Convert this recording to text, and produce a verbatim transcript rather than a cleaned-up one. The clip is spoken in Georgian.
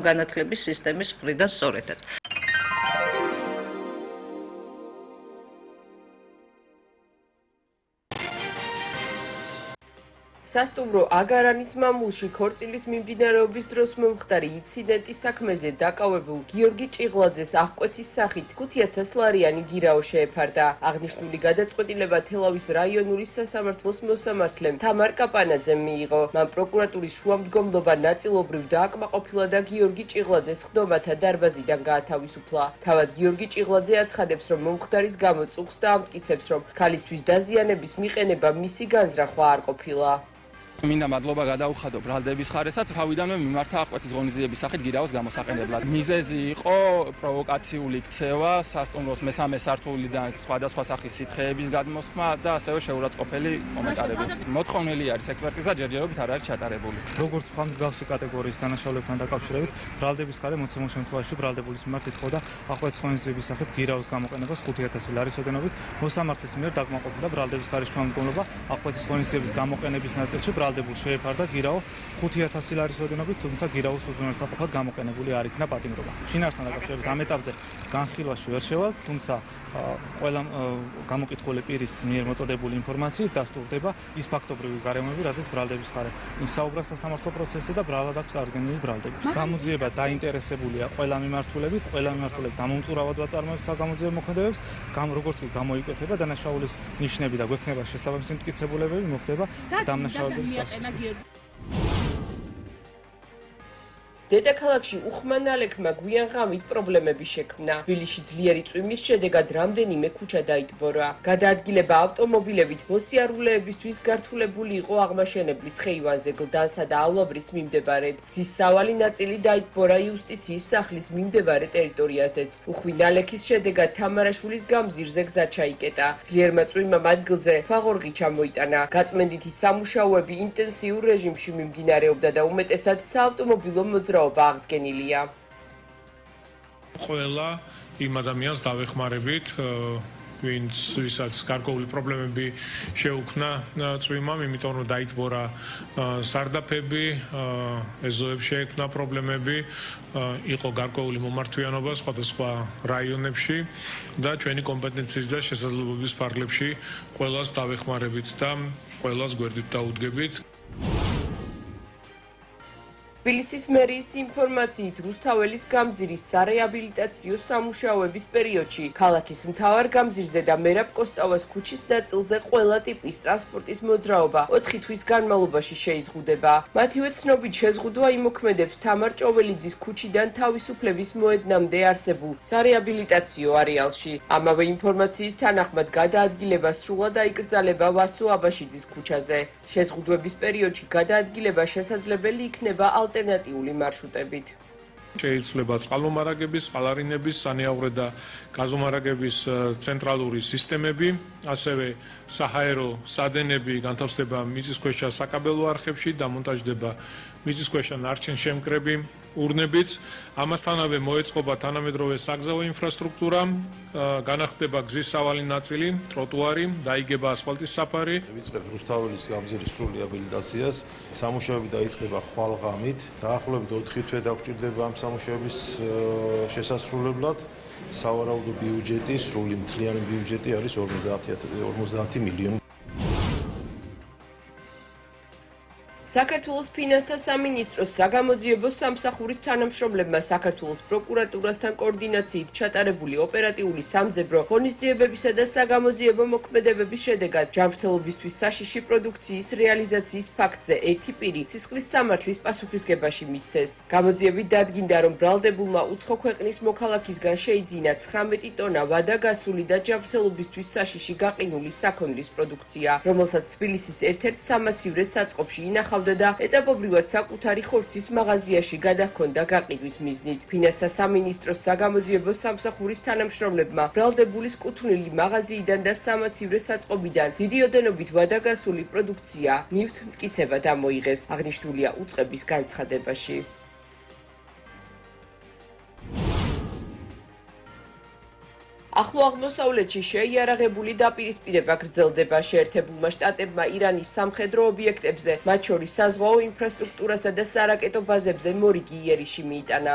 განათლების სისტემის მხრიდან სწორედაც. სასტუმრო აგარანის მამულში ქორწილის მიმდინარეობის დროს მომხდარი ინციდენტის საქმეზე დაკავებულ გიორგი ჭიღლაძეს აღკვეთის სახით ხუთი ათას ლარიანი გირაო შეეფარდა. აღნიშნული გადაწყვეტილება თელავის რაიონული სასამართლოს მოსამართლემ თამარ კაპანაძემ მიიღო. მან პროკურატურის შუამდგომლობა ნაწილობრივ დააკმაყოფილა და გიორგი ჭიღლაძეს ხდომათა დარბაზიდან გაათავისუფლა. თავად გიორგი ჭიღლაძე აცხადებს, რომ მომხდარის გამო წუხს და ამტკიცებს, რომ ქალისთვის დაზიანების მიყენება მისი განზრახვა არ ყოფილა. მინდა მადლობა გადაუხადო ბრალდების ხარესაც, თავიდანვე მიმართა აღკვეთის ღონისძიების სახით გირაოს გამოსაყენებლად. მიზეზი იყო პროვოკაციული ქცევა, სასტუმროს მესამე სართულიდან სხვადასხვა სახის სითხეების გადმოსხმა და ასევე შეურაცხყოფელი კომენტარები. მოთხოვნილი არის ექსპერტიზა, ჯერჯერობით არ არის ჩატარებული. როგორც სხვა მსგავსი კატეგორიის დანაშაულებთან დაკავშირებით, ბრალდების ხარე მოცემულ შემთხვევაში ბრალდებულის მიმართ ითხოვდა აღკვეთის ღონისძიების სახით გირაოს გამოყენებას ხუთი ათასი ლარის ოდენობით. მოსამართლის მიერ დაკმაყოფილდა ბრალდების ხარის შუამდგომლობა აღკვეთის ღონისძიების გამოყენების ნაწილში ბრალდებულს შეეფარდა გირაო ხუთი ათასი ლარის ოდენობით, თუმცა გირაოს უზრუნველსაყოფად გამოყენებული არ იქნა პატიმრობა. შინაარსთან დაკავშირებით ამ ეტაპზე განხილვაში ვერ შევალთ, თუმცა ყველა გამოკითხული პირის მიერ მოწოდებული ინფორმაციით დასტურდება ის ფაქტობრივი გარემოები, რაზეც ბრალდების ხარე ისაუბრა სასამართლო პროცესზე და ბრალად აქვს წარდგენილი ბრალდები. გამოძიება დაინტერესებულია ყველა მიმართულებით, ყველა მიმართულებით დამომწურავად ვაწარმოებს საგამოძიებო მოქმედებებს, როგორც კი გამოიკვეთება დანაშაულის ნიშნები და გვექნება შესაბამისი მტკიცებულებები, მოხდება დამნაშავების დედაქალაქში უხმანალექმა გვიან ღამით პრობლემები შექმნა. თბილისში ძლიერი წვიმის შედეგად რამდენიმე ქუჩა დაიტბორა. გადაადგილება ავტომობილებით მოსიარულეებისთვის გართულებული იყო აღმაშენებლის ხეივანზე გლდანსა და ავლაბრის მიმდებარედ. გზის სავალი ნაწილი დაიტბორა იუსტიციის სახლის მიმდებარე ტერიტორიაზეც. უხმანალექის შედეგად თამარაშვილის გამზირზე გზა ჩაიკეტა. ძლიერმა წვიმამ ადგილზე ფაღორღი ჩამოიტანა. გაწმენდითი სამუშაოები ინტენსიურ რეჟიმში მიმდინარეობდა და უმეტესად საავტომობილო მოძრაობა აღდგენილია. ყველა იმ ადამიანს დავეხმარებით, ვინც ვისაც გარკვეული პრობლემები შეუქმნა წვიმამ, იმიტომ რომ დაიტბორა სარდაფები, ეზოებში შეექმნა პრობლემები, იყო გარკვეული მომართვიანობა სხვადასხვა რაიონებში და ჩვენი კომპეტენციის და შესაძლებლობის ფარგლებში ყველას დავეხმარებით და ყველას გვერდით დაუდგებით. თბილისის მერიის ინფორმაციით, რუსთაველის გამზირის სარეაბილიტაციო სამუშაოების პერიოდში ქალაქის მთავარ გამზირზე და მერაბ კოსტავას ქუჩის ნაწილზე ყველა ტიპის ტრანსპორტის მოძრაობა ოთხი თვის განმავლობაში შეიზღუდება. მათივე ცნობით შეზღუდვა იმოქმედებს თამარ ჭოველიძის ქუჩიდან თავისუფლების მოედნამდე არსებულ სარეაბილიტაციო არეალში. ამავე ინფორმაციის თანახმად გადაადგილება სრულად აიკრძალება ვასო აბაშიძის ქუჩაზე. შეზღუდვების პერიოდში გადაადგილება შესაძლებელი იქნება ალტერნატიული მარშრუტებით. შეიძლება წყალმომარაგების, წყალარინების, სანიავრე და გაზომარაგების ცენტრალური სისტემები, ასევე საჰაერო სადენები განთავსდება მიწისქვეშა საკაბელო არხებში, დამონტაჟდება მიწისქვეშა ნარჩენშემკრები ურნებით. ამასთანავე მოეწყობა თანამედროვე საგზაო ინფრასტრუქტურა, განახდება გზის სავალი ნაწილი, ტროტუარი, დაიგება ასფალტის საფარი. ვიწყებთ რუსთაველის გამზირის სრული აბილიტაციას, სამუშაოები დაიწყება ხვალღამით, დაახლოებით ოთხი თვე დაგვჭირდება ამ სამუშაოების შესასრულებლად. სავარაუდო ბიუჯეტი, სრული მთლიანი ბიუჯეტი არის ორმოცდაათი მილიონი. საქართველოს ფინანსთა სამინისტროს საგამოძიებო სამსახურის თანამშრომლებმა საქართველოს პროკურატურასთან კოორდინაციით ჩატარებული ოპერატიული სამძებრო ღონისძიებებისა და საგამოძიებო მოქმედებების შედეგად ჯანმრთელობისთვის საშიში პროდუქციის რეალიზაციის ფაქტზე ერთი პირი სისხლის სამართლის პასუხისგებაში მისცეს. გამოძიებით დადგინდა, რომ ბრალდებულმა უცხო ქვეყნის მოქალაქისგან შეიძინა ცხრამეტი ტონა ვადაგასული და ჯანმრთელობისთვის საშიში გაყინული საქონლის პროდუქცია, რომელსაც თბილისის ერთ-ერთ სამაცივრე საწყობში ინახავდა და ეტაპობრივად საკუთარი ხორცის მაღაზიაში გადაჰქონდა გაყიდვის მიზნით. ფინანსთა სამინისტროს საგამოძიებო სამსახურის თანამშრომლებმა ბრალდებულის კუთვნილი მაღაზიიდან და სამაცივრე საწყობიდან დიდი ოდენობით ვადაგასული პროდუქცია ნივთთ მტკიცება დამოიღეს. აღნიშნულია უწყების განცხადებაში. ახლო აღმოსავლეთში შეიარაღებული დაპირისპირება გრძელდება შეერთებულმა შტატებმა ირანის სამხედრო ობიექტებზე, მათ შორის საზღვაო ინფრასტრუქტურასა და სარაკეტო ბაზებზე მორიგი იერიში მიიტანა.